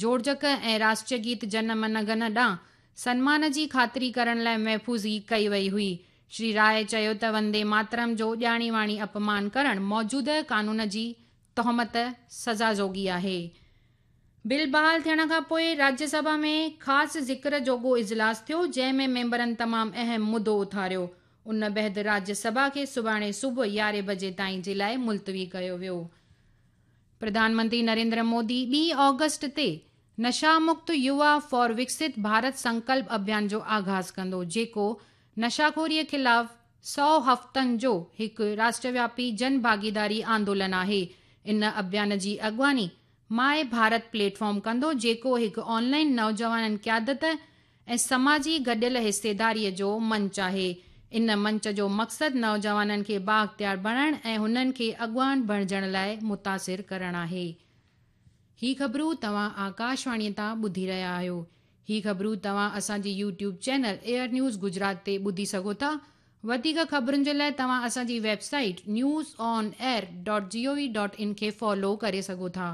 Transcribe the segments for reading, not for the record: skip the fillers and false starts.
جوڙجڪ ۽ راشٽريه گيت جن من گن ڏانهن سنمان جي خاطري ڪرڻ لاء محفوظ ڪئي وئي هئي. شري راء چيو ته وندي ماترم جو ڄاڻي واڻي اپمان ڪرڻ موجوده قانون جي تهمت سزا جوڳي آهي. بل بحال ٿيڻ کان پوء راجيه سڀا ۾ خاص ذڪر جوڳو اجلاس ٿيو، جنهن ۾ ميمبرن تمام اهم مدو اٿاريو. ان بعد راجيه سڀا کي سڀاڻي صبح يارهين بجي تائين جي لاء ملتوي ڪيو ويو. پرڌان منتري نريندر مودي ٻي آگسٽ تي نشا مڪت يووا فار وڪست ڀارت سنڪلپ اڀيان جو آغاز ڪندو، جيڪو نشاخوري خلاف سئو هفتن جو هڪ راشٽروياپي جن ڀاڳيداري آندولن آهي. ان اڀيان جي اڳواڻي ماء ڀارت پليٽ فارم ڪندو، جيڪو هڪ آن لائن نوجوانن قيادت ۽ سماجي گڏيل حصيداري جو منچ آهي. ان منچ جو مقصد نوجوانن کي بااختيار بڻائڻ ۽ هنن کي اڳواڻ بڻجڻ لاء متاثر ڪرڻ آهي. هي خبرون توهان آڪاشواڻي تان ٻڌي رهيا آهيو. هي خبرون توهان اسان جي YouTube channel AIR news Gujarat تي ٻڌي سگهو ٿا. وڌيڪ خبرن جي لاء توهان اسان جي website news on air dot G O V dot in کي فالو ڪري سگهو ٿا.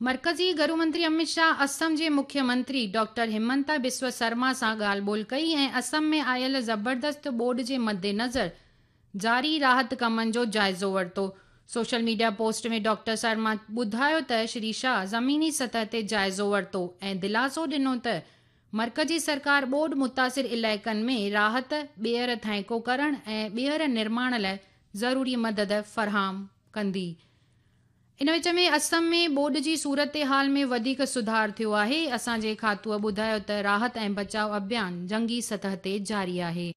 مرڪزي گهرو منتري امت شاهه اسم جي مکيه منتري ڊاڪٽر همنتا بسوا سرما سان ڳالهه ٻولهه ڪئي ۽ اسم ۾ آيل زبردست ٻوڏ جي مدنظر جاري راحت ڪمن جو جائزو ورتو. Social media post ۾ doctor Sarma ٻڌايو ته شري شاهه زميني سطح تي جائزو ورتو ۽ دلاسو ڏنو ته مرڪزي سرڪار ٻوڏ متاثر علائقن ۾ راحت، ٻيهر ٿانئيڪو ڪرڻ ۽ ٻيهر نرماڻ لاء ضروري مدد فراهم ڪندي. ان وچ ۾ اسم ۾ ٻوڏ جي صورتحال ۾ وڌيڪ سڌار ٿيو آهي. اسان جي کاتوء ٻڌايو ته راحت ۽ بچاء اڀيان جنگي سطح تي جاري آهي.